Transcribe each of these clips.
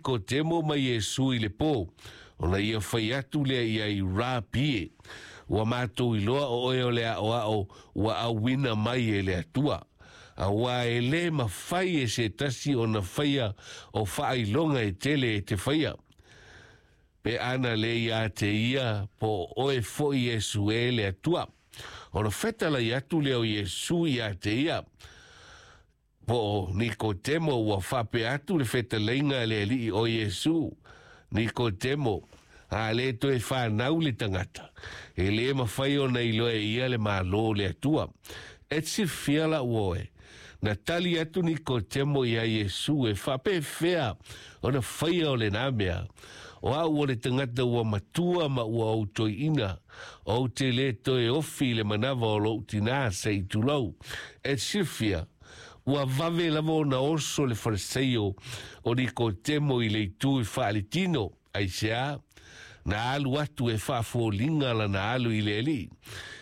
Nikotemo ma Iesu i le pō, ona ia fai atu lea i ai, Rapi e, ua matou iloa o oe o le aʻoaʻo ua auina mai e le Atua, auā e lē mafai e se tasi ona faia o faailoga e tele e te faia, pe ana lē iā te ia po o oe foʻi Iesu e le Atua. Ona fetalai atu lea o Iesu iā te ia, po o Nikotemo, ua faapea atu le fetalaiga a le Alii o Iesu, Nikotemo, a lē toe fanau le tagata, e lē mafai ona iloa e ia le Malo o le Atua. E te silafia lau oe, na tali atu Nikotemo iā Iesu e faapefea ona faia o lenā mea, O au o le tagata ua matua ma ua ou toeaina, ou te lē toe ofi i le manava o lou tinā se i tulou. E te silafia, ua vave lava ona oso le faleseio o Nikotemo i le itu i faaletino, aisea? Na alu atu e faafoliga lana alu i le Alii.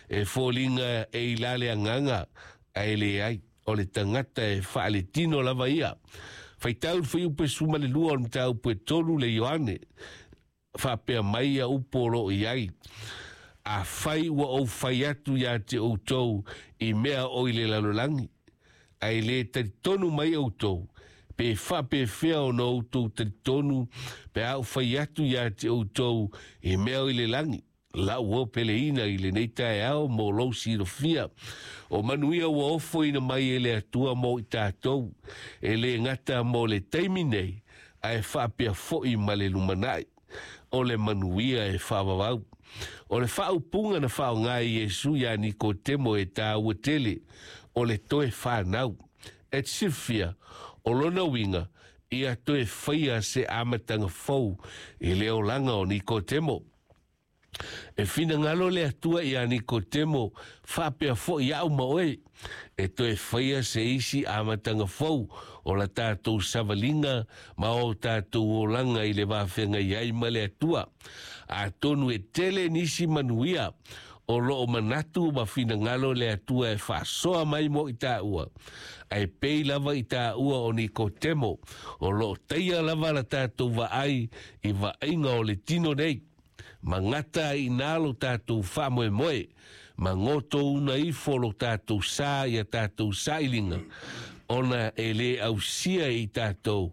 E foliga e i la le agaga, ae leai, o le tagata e faaletino lava ia. Faitau le fuaiupu e 12 o le mataupu e 3 le Ioane, faapea mai ia upu o lo o i ai, Afai ua ou fai atu iā te outou i mea o i le lalolagi, ae lē talitonu mai outou, pe faapefea ona outou talitonu pe a ou fai atu iā te outou i mea o i le lagi? Lau o peleina i lenei taeao mo lou silafia, o manuia ua ofoina mai e le Atua mo i tatou, e lē gata mo le taimi nei, ae faapea foʻi ma le lumanai. O le manuia e faavavau. O le faaupuga na faaaoga e Iesu iā Nikotemo e tāua tele, o le toe fanau. E te silafia, o lona uiga, ia toe faia se amataga fou i le olaga o Nikotemo. E finagalo le Atua iā Nikotemo, faapea foʻi aʻu ma oe, e toe faia se isi amataga fou o la tatou savaliga ma o tatou olaga i le vafeagai ai ma le Atua. Atonu e tele nisi manuia o loo manatu ma finagalo le Atua e faasoa mai mo i taua, ae pei lava i taua o Nikotemo, o loo taia lava la tatou vaai i vaaiga o le tino nei. Ma gata ai inā lo tatou faamoemoe, ma gotouna ifo lo tatou sa i a tatou sailiga, ona e lē ausia e i tatou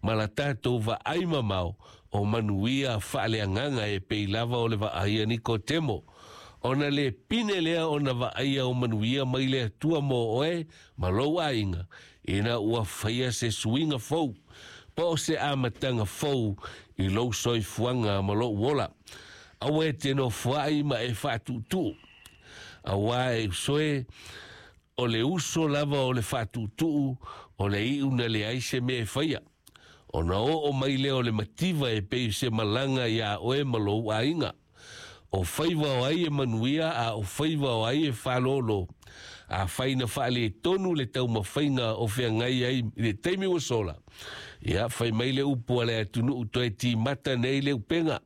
ma la tatou vaai mamao o manuia faaleagaga e pei lava o le vaai a Nikotemo. Ona lē pine lea ona vaaia o manuia mai le Atua mo oe ma lou aiga, ina ua faia se suiga fou, po o se amataga fou i lou soifuaga ma lou ola. Aua e te nofoaʻi ma e faatuʻutuʻu, auā e usoe, o le uso lava o le faatuʻutuʻu o le iʻu na leai se mea e faia. Ona oo mai lea o le mativa e pei o se malaga iā oe ma lou aiga. O faiva o ai e manuia a o faiva o ai e faalōlō. Afai na faaletonu le taumafaiga o feagai ai i le taimi ua sola, ia, fai mai le upu a le atunuu toe timata nei le upega,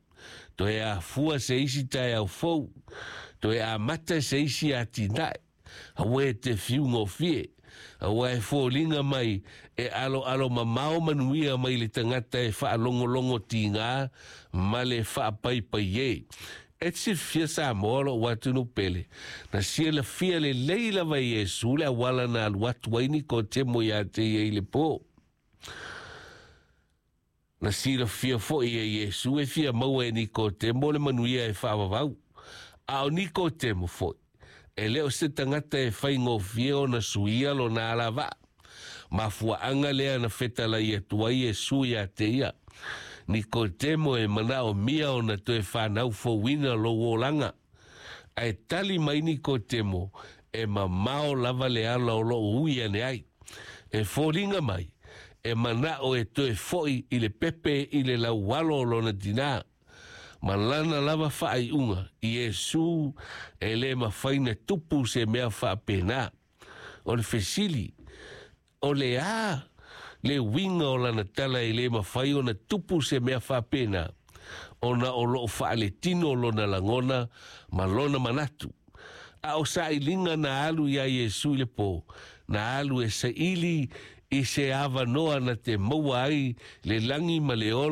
toe afua se isi taeao fou, toe amata se isi atinae. Aua e te fiugofie, aua e foliga mai e aloalo mamao manuia mai le tagata e faalogologo tigā ma le faapaipai e. E te silafia Samoa lou atunuu pele, na silafia lelei lava e Iesu le auala na alu atu ai Nikotemo iā te ia i le pō. Na silafia foʻi e Iesu e fia maua e Nikotemo le manuia e faavavau. A o Nikotemo foʻi, e lē o se tagata e faigofie ona suia lona alavaa. Mafuaaga lea na fetalai atu ai Iesu iā te ia, Nikotemo e manaomia ona toe fanau fouina lou olaga. Ae tali mai Nikotemo, E mamao lava le ala o loo ui ane ai. E foliga mai, e manaʻo e toe foʻi i le pepe i le laualo o lona tinā. Ma lana lava faaiuga, Iesu, e lē mafai na tupu se mea faapena. O le fesili, O le a le uiga o lana tala e lē mafai ona tupu se mea faapena, ona o loo faaletino lona lagona ma lona manatu? A o sailiga na alu iā Iesu i le pō, na alu e saili i se avanoa na te maua ai le lagi ma le ola.